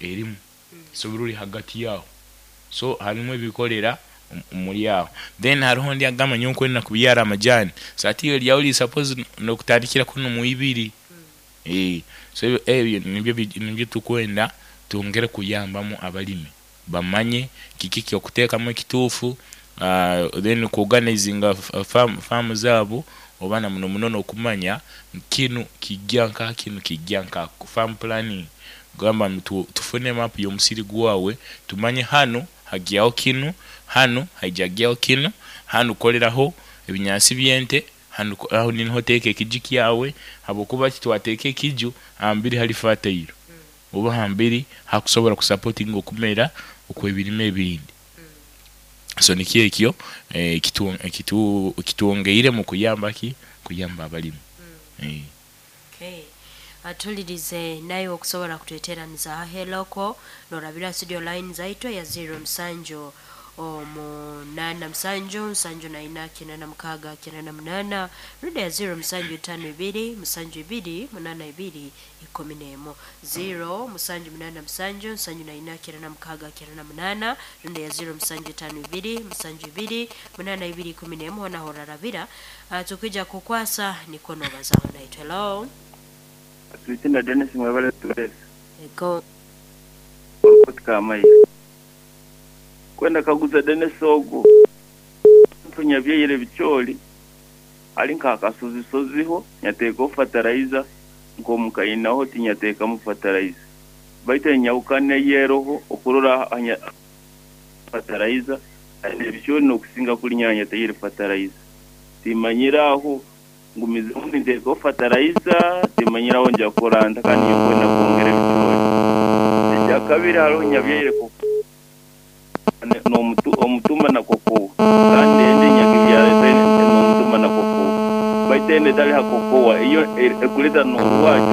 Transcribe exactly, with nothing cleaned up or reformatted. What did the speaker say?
Erimu, so ruri hagati yaho, so harimu ebikorera omuri aho. Then hariho ondi agamba, "Nyowe nkwenda kubyara amajani." So ati iwe ryawe riri suppose nokutandikira kunu mu ibiri. Eh, so ebyo ebyo nibyo bi- nibyo tukwenda twongere kuyambamu abalimi, bamanye kiki kyokuteekamu ekituufu, uh, then kuorganizinga farm, farm zaabo, oba na muno muno n'okumanya kinu kijja nka kinu kijja nka farm planning. Gamba tu, tufune map y'omusiri gwawe, tumanye hanu hagyaho kinu, hanu haijagyaho kinu, hanu koleraho ebinyansi by'ente, hanu aho niho teeka ekiju kyawe, habwokuba titwateeka ekiju hambiri hali fertile oba hambiri hakusobora kusupportinga okumera okw'ebirime ebindi. So nikyo ekyo eh, kitu kitu kitwongeire mu kuyamba ki kuyamba abalimi eh. Okay. Atulirize naye okusobola kutweteraniza heloko norabira studio line zaitu ya zero musanju omunana musanju nsanju naina kinana mukaga kinana munana, ruda ya zero musanju tano ibiri musanju ibiri munana ibiri ikumi nemo, zero musanju munana musanju nsanju naina kinana mukaga kinana munana, ruda ya zero musanju tano ibiri musanju ibiri munana ibiri ikumi nemo. Hona horarabira uh, tukija kukwasa nikono bazaho naitwe. Hello. Tuitinda Dennis, mwebale tuweza. Ego. Katika kwenda kaguza Dennis ogu ntunya byeyire bicyoli ali nkakasozisoziho nyateekaho fertilizer, nk'omukayinaho tinyateekamu fertilizer, baitu enyawukana eyeroho okurora anya fertilizer ebicyoli n'okusinga kuli nyanya teyire fertilizer. Timanyire aho ngumizemu ninteekaho fertilizer, timanyire aho nja kuranta, kandi nyokwenda kwongera ebicyoli. Ekyakabiri, hariho nyabyeyire n'omutuma na kokowa, kandi ende nyakibyara n'omutuma na kokowa, baitu ende etali ha kokowa iyo ekuleta n'orwakyo.